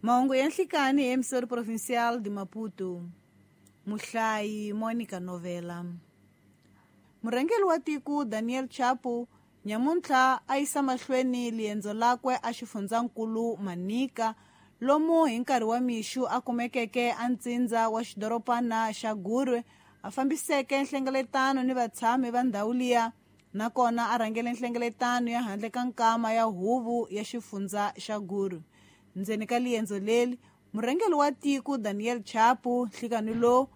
Mahungu ya nhlikani hi Emissora Provincial de Maputo. Muhlayi Monica Novela. Murhangeri wa tiko Daniel Chapo nyamuntlha a yisa mahlweni liendzo lakwe a xifundzankulu Manica lomu hi nkarhi wa mixu a kumekeke a ntsindza wa xidoropana xa Gurwe a fambiseke nhlengeletano ni vatshami va ndhawu liya nakona a rhangele nhlengeletano ya handle ka nkama ya huvo ya xifundza xa Gurwe. Ndzeni ka liendzo leri murhangeri wa tiko Daniel Chapo nhlikani lowu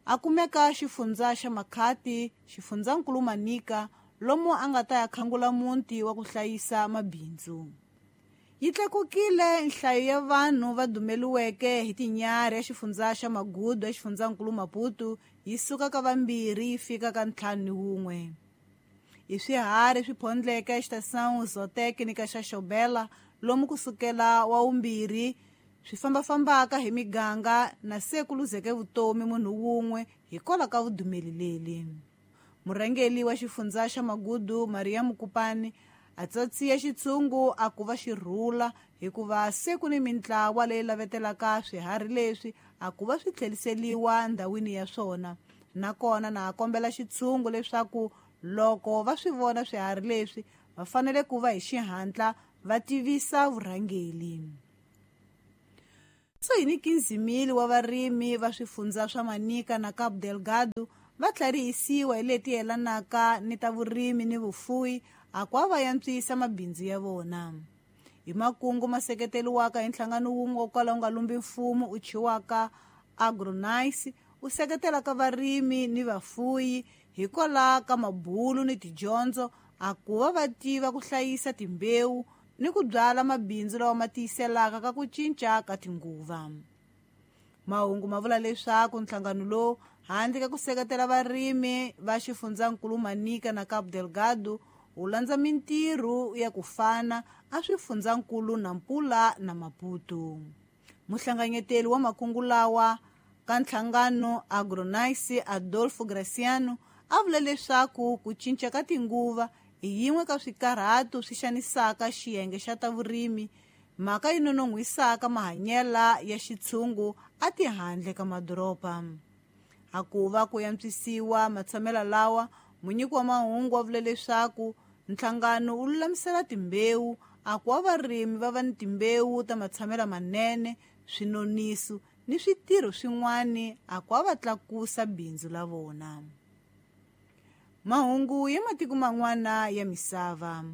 a kumeka xifundza xa Makhati xifundzankulu Manica lomu a nga ta ya khangula muti wa ku hlayisa mabindzu. Yi tlakukile nhlayo ya vanhu va dumeliweke hi tinyarhi ya xifundza xa Magudu ya xifundzankulu Maputo yi suka ka 2 yi fika ka 51. I swiharhi swi phondleke Estação Zootécnica xa Xobela lomu kusukela wa 2 swi fambafambaka hi miganga na se ku luzeke vutomi munhu wun'we hikwalaho ka vudumeli leli. Murhangeri wa xifundza xa Magudu Maria Mukupani a tsatsiya xitshungu a ku va xirhula hikuva se ku ni mintlawa leyi lavetelaka swiharhi leswi a ku va swi tlheriseliwa ndhawini ya swona. Nakona na a kombela xitshungu leswaku loko va swi vona swiharhi leswi va fanele ku va hi xihatla va tivisa vurhangeri. So hi ni 15,000 wa varimi va swifundza swa Manica na Cabo Delgado va tlharihisiwa hi leti yelanaka ni ta vurimi ni vufuwi a ku va yantswisa mabindzu ya vona. Hi makungu ma seketeriwaka hi nhlangano wun'we wo kala wu nga lumbi mfumo u chiwaka Agronice u seketelaka varimi ni vafuyi hikwalaho ka mabulu ni tidyondzo a ku va va tiva ku hlayisa timbewu ni ku byala mabindzu lawa ma tiyiselaka ka ku cinca ka tinguva. Mahungu ma vula leswaku nhlangano lowu handle ka ku seketela varimi va xifundzankulu Manica na Cabo Delgado wu landza mintirho ya ku fana a swifundzankulu Nampula na Maputo. Muhlanganyeteli wa makungu lawa ka nhlangano Agronice Adolfo Graciano a vula leswaku ku cinca ka tinguva hi yin'we ka swikarhato swi xanisaka xiyenge xa ta vurimi mhaka yi nonon'hwisaka mahanyela ya xitshungu a tihandle ka madoroba. A ku va ku yantswisiwa matshamelo lawa munyiki wa mahungu wa vula leswaku nhlangano wu lulamisela timbewu a ku wa varimi va va ni timbewu ta matshamelo manene swinoniso ni switirho swin'wana a ku va tlakusa bindzu la vona. Mahungu ya matiko man'wana ya misava.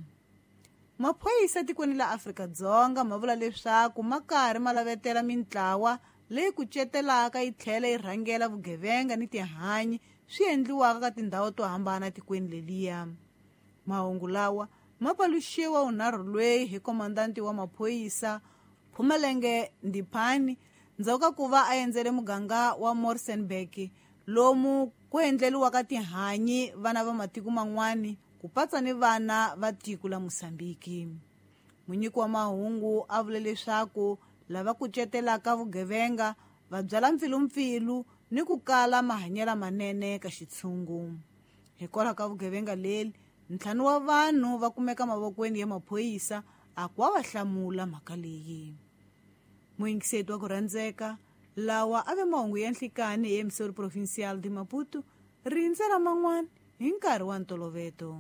Maphorisa tikweni la Afrika-Dzonga ma vula leswaku ma karhi ma lavetela mintlawa leyi kucetelaka yi tlhela yi rhangela vugevenga ni tihanyi swi endliwaka ka tindhawu to hambana tikweni leliya. Mahungu lawa ma paluxiwa unharhu lweyi hi komandanti wa maphorisa Phumelenge Ndiphani ndzhaku ka ku va a endzele muganga wa Morsenburg lomu ku endleriwaka tihanyi vana va matiko man'wani ku patsa ni vana va tiko la Mozambique. Munyiki wa mahungu a vule leswaku lava kucetelaka vugevenga va byala mpfilumpfilu ni ku kala mahanyelo manene ka xitshungu. Hikwalaho ka vugevenga leri 5 wa vanhu va kumeka mavokweni ya maphorisa a ku va hlamula mhaka leyi. Muyingiseti wa ku rhandzeka lawa a ve mahungu ya nhlikani hi Emissora Provincial de Maputo rindzela man'wana hi nkarhi wa ntoloveto.